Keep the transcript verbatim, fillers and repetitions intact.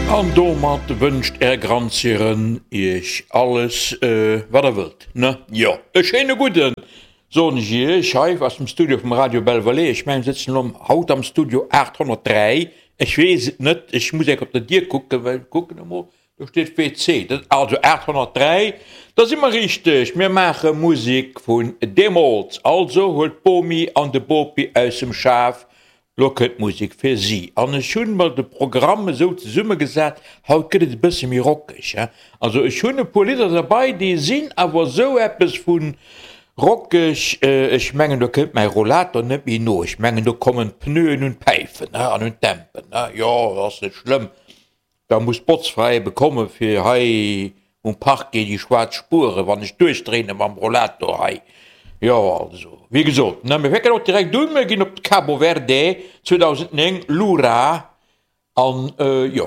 An domat wënscht Är Grandsirren Iech alles, wat Der wëllt, ne? Jo, e schéine gudden, soen ech Iech hei aus dem Studio vum Radio Belle-Vallée. Ech mengen, mir sëtzen elo haut am Studio aathonnertdräi. Ech weess et net, ech muss enk op der Dier kucken, well, kucken emol, do steet W C, dat also aathonnertdräi, da si mer richteg. Mir maache Musek vun deemools. Also huelt d'Bomi an de Bopi aus dem Schaf. Lo kënnt d'Musek fir si an ech hunn mer de Programm esou zesummegesat, haut gëtt et e bësse méi rockeg, he. Also ech hunn e puer Lidder derbei, déi sinn awer esou eppes vu rockeg, ech mengen do kënnt mäi Rollator net méi no, ech mengen do kommen d'Pneuen un d'Päifen, he, an un d'Dämpen, he. Jo, ass net schlëmm. Da muss d'Botzfra ebe komme fir hei um Parquet déi schwaarz Spueren, wann ech duerchdréine mam Rollator hei. Jo, also, wéi gesot, ne, mir fänken och direkt un, mir ginn op d'Cabo Verde, zweedausendnéng, Lura, an jo.